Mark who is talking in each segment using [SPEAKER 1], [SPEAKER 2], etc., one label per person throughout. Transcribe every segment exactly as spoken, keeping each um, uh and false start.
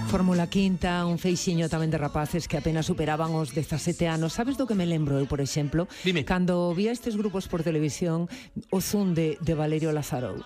[SPEAKER 1] Fórmula Quinta, un feixiño tamén de rapaces que apenas superaban os dezasete anos. Sabes do que me lembro eu, por exemplo?
[SPEAKER 2] Dime.
[SPEAKER 1] Cando vía estes grupos por televisión, o zoom de, de Valerio Lazarou.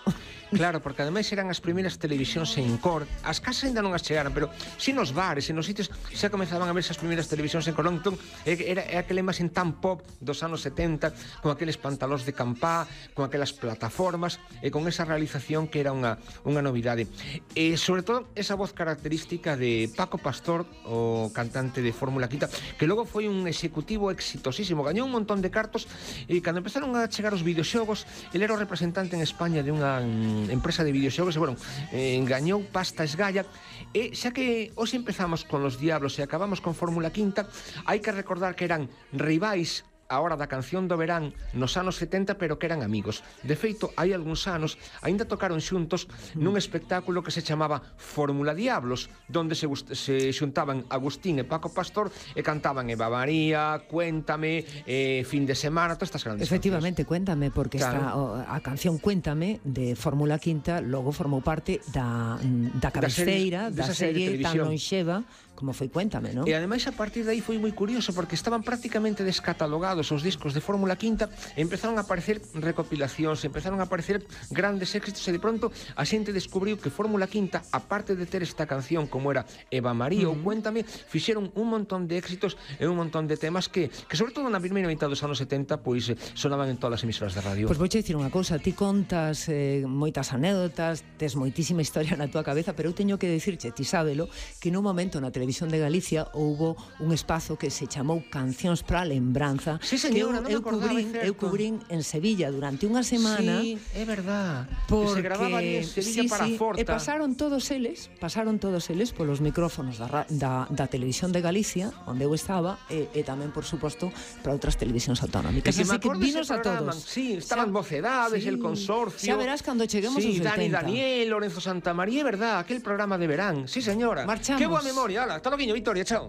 [SPEAKER 2] Claro, porque ademais eran as primeiras televisións en cor. As casas ainda non as chegaran, pero si nos bares e nos sitios xa comezaban a ver esas primeiras televisións en cor. Entón, era, era aquela imaxen tan pop dos anos setenta, con aqueles pantalóns de campá, con aquelas plataformas e con esa realización que era unha, unha novidade. E sobre todo esa voz característica de Paco Pastor, o cantante de Fórmula Quinta, que logo foi un executivo exitosísimo, gañou un montón de cartos, e cando empezaron a chegar os videoxogos, ele era o representante en España de unha empresa de videoxogos, e, bueno, eh, gañou pasta esgalla. E xa que hoxe empezamos con Los Diablos e acabamos con Fórmula Quinta, hai que recordar que eran rivais a hora da canción do verán nos anos setenta, pero que eran amigos. De feito, hai algúns anos aínda tocaron xuntos nun espectáculo que se chamaba Fórmula Diablos, donde se, se xuntaban Agustín e Paco Pastor e cantaban Eva María, Cuéntame, eh, Fin de Semana, todas estas grandes
[SPEAKER 1] Efectivamente,
[SPEAKER 2] cancións.
[SPEAKER 1] Cuéntame, porque
[SPEAKER 2] Claro.
[SPEAKER 1] esta, a canción Cuéntame de Fórmula Quinta logo formou parte da, da cabeceira da,
[SPEAKER 2] da
[SPEAKER 1] serie,
[SPEAKER 2] serie
[SPEAKER 1] tan lonxeva como foi Cuéntame, non?
[SPEAKER 2] E ademais a partir de aí foi moi curioso, porque estaban prácticamente descatalogados os discos de Fórmula Quinta, e empezaron a aparecer recopilacións, empezaron a aparecer grandes éxitos, e de pronto a xente descubriu que Fórmula Quinta, aparte de ter esta canción como era Eva María uh-huh. ou Cuéntame, fixeron un montón de éxitos e un montón de temas que, que sobre todo na primeira mitad dos anos setenta, pois sonaban en todas as emisoras de radio.
[SPEAKER 1] Pois vou dicir unha cousa, ti contas eh, moitas anécdotas, tes moitísima historia na túa cabeza, pero eu teño que dicirche, ti sábelo, que nun momento na televisión de Galicia houbo un espazo que se chamou Cancións para a Lembranza.
[SPEAKER 2] Sí, señora,
[SPEAKER 1] que eu,
[SPEAKER 2] non me
[SPEAKER 1] eu
[SPEAKER 2] acordaba,
[SPEAKER 1] cubrín, eu cubrín en Sevilla durante unha semana.
[SPEAKER 2] Sí, é verdad.
[SPEAKER 1] Porque,
[SPEAKER 2] se grababa ali en Sevilla
[SPEAKER 1] sí,
[SPEAKER 2] para
[SPEAKER 1] sí,
[SPEAKER 2] Forta.
[SPEAKER 1] E pasaron todos eles, pasaron todos eles polos micrófonos da, da, da televisión de Galicia, onde eu estaba, e, e tamén, por suposto, para outras televisións autonómicas.
[SPEAKER 2] Así
[SPEAKER 1] que vinos a todos.
[SPEAKER 2] Sí, estaban Mocedades, sí, el Consorcio.
[SPEAKER 1] Xa verás cando cheguemos
[SPEAKER 2] sí,
[SPEAKER 1] aos
[SPEAKER 2] Dani
[SPEAKER 1] setenta.
[SPEAKER 2] Daniel, Lorenzo Santamaría, é verdad, aquel programa de verán. Sí, señora.
[SPEAKER 1] Marchamos.
[SPEAKER 2] Que boa memoria, ala, hasta loguiño, Victoria, chao.